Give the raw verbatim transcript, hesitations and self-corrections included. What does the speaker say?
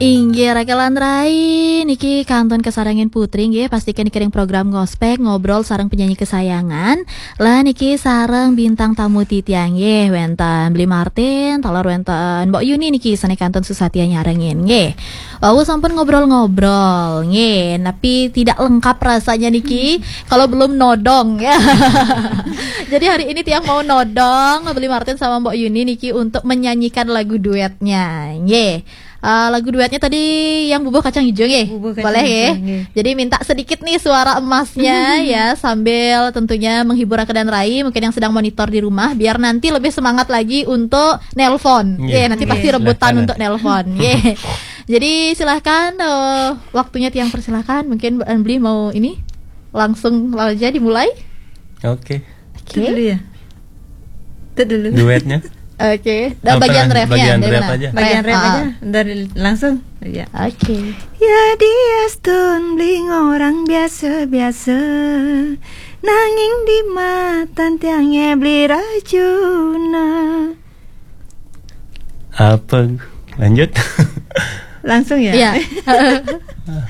Inggih, Rakelan Rai, niki kantun kasarengin Putri nggih, pastikan dikiring program Ngospek, ngobrol sareng penyanyi kesayangan. Lah niki sareng bintang tamu titiang nggih, wenten Bli Martin, taler wenten Mbok Yuni niki sane kantun susatia nyarengin nggih. Wau sampun ngobrol-ngobrol nggih, tapi tidak lengkap rasanya niki kalau belum nodong ya. Jadi hari ini tiang mau nodong Bli Martin sama Mbok Yuni niki untuk menyanyikan lagu duetnya nggih. Eh, lagu duetnya tadi yang Bubuh Kacang Hijau nggih. Bubuh Kacang Boleh Hijau, ya. Nggih. Jadi minta sedikit nih suara emasnya ya, sambil tentunya menghibur Rakelan Rai mungkin yang sedang monitor di rumah, biar nanti lebih semangat lagi untuk nelpon. Nggih. Ya, nanti pasti Nggih. rebutan Silakan. Untuk nelpon. Ya. Jadi silahkan, eh, waktunya tiang persilahkan. Mungkin Mbok Bli mau ini langsung aja dimulai. Oke. Itu dulu ya. Itu dulu. Duetnya. Oke, dan Apa bagian namanya? Refnya Bagian dari ref mana? Aja. Bagian ref Ah. Aja. Dari langsung. Ya. Oke. Ya dia stun bling orang biasa-biasa. Nanging di matan tiangnya beli rajuna. Apa? Lanjut. Langsung ya. Ya.